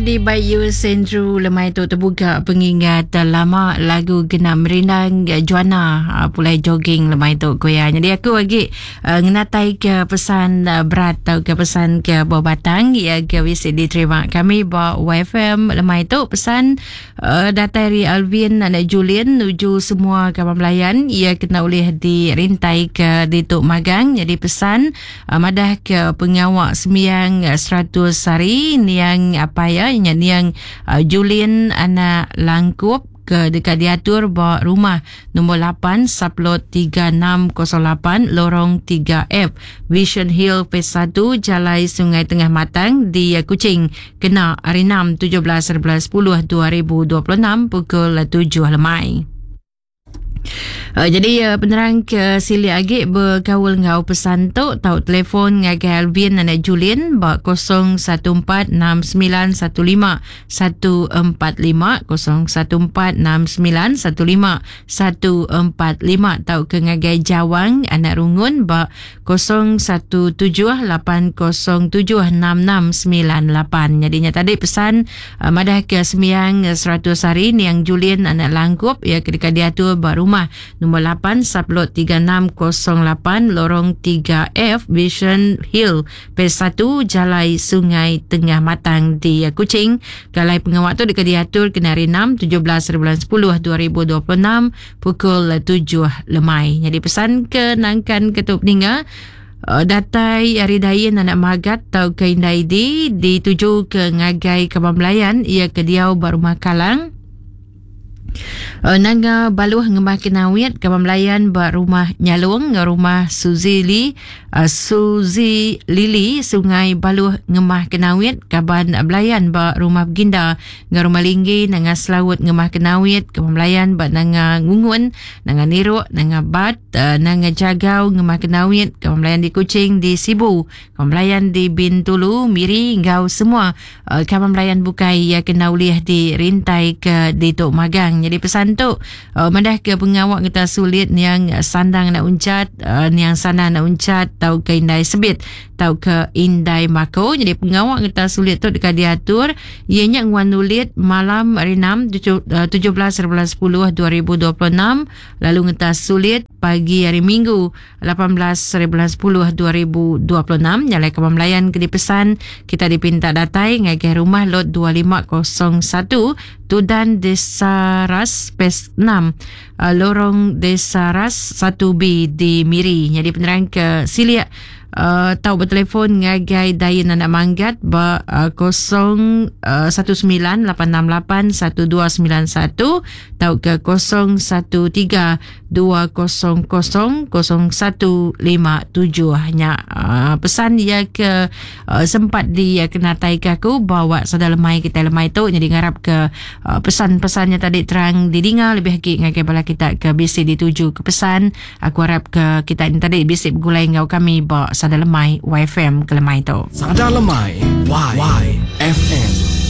di Bayu Sentru lemai tu terbuka pengingat lama lagu kena merindang Joanna pulai jogging lemai tu ku iya. Jadi aku agi ngenatai ke pesan berat tau ke pesan ke buah batang iya ke bisi diterima kami ba YFM lemai tu pesan Datai ari Alvin anak Julian nuju semua kaban belayan iya kena ulih dirintai ke ditu magang nyadi pesan madah ke pengawa sembiang 100 hari niang apai iya nya niang Julian anak Langkup ke deka diatur ba rumah Nombor 8 Sublot 3608 Lorong 3F Vision Hill Phase 1 Jalai Sungai Tengah Matang di Kuching kena hari 6 17 11 10 2026 pukul 7 lemai. Jadi penerang ke silik agi bekaul enggau pesan tu tau telefon ngagai Alvin anak Julin ba 014 6915 145 014 69 15 145 tauka ngagai Jawang anak Rungun ba 017 807 6698. Nyadi nya tadi pesan uh, madah ke sembiang 100 hari niang Julin anak Langkup ia ke deka diatur ba rumah Nombor 8 Sublot 3608 Lorong 3F Vision Hill Phase 1 Jalai Sungai Tengah Matang di Kuching. Galai pengawa tu deka diatur kena hari 6 17 bulan 10 2026 pukul 7 lemai. Nyadi pesan ke nangkan ke tu peninga datai ari Dain anak Magat tauka Indai Di dituju ke ngagai kaban belayan iya ke diau ba Rumah Kalang. Nanga Baluh ngemah Kenawit kaban belayan ba Rumah Nyalong enggau Rumah Suzy Lee Suzy Lily Sungai Baluh ngemah Kenawit kaban belayan ba Rumah Beginda enggau Rumah Linggi Nanga Selaut ngemah Kenawit kaban belayan ba Nanga Ngungun Nanga Niruk Nanga Bat Nanga Jagau ngemah Kenawit kaban belayan di Kuching di Sibu kaban belayan di Bintulu Miri enggau semua Kaban belayan bukai iya kena ulih dirintai ke ditu magang. Nyadi pesan tu madah ke pengawa ngeta sulit niang sandang anak uncat, niang sandang anak uncat tauka indai sebit tauka indai mako. Nyadi pengawa ngeta sulit tu deka diatur iya nya nguan ulit malam hari 6 17 bulan 10 2026 lalu ngeta sulit pagi hari Minggu 18 hari bulan 10 2026 nyalai kaban belayan ke dipesan kita dipinta datai ngagai rumah lot 2501 Tudan Desa Ras Phase 6 Lorong Desa Ras 1B di Miri. Nyadi penerang ke silik uh, tau bertelefon ngagai Dain Anak Manggat ba uh, 0 19 868 1291 tauka 013 200 0157 nya uh, pesan ia ke uh, sempat dia kenatai ke aku bawa sada lemai kita lemai tu jadi ngarap ke uh, pesan-pesannya tadi terang didinga lebih lagi ngagai bala kita ke bisi dituju ke pesan aku harap ke kita ini tadi bisi begulai enggau kami ba sada lemai YFM ke lemai tu. Sada lemai YFM.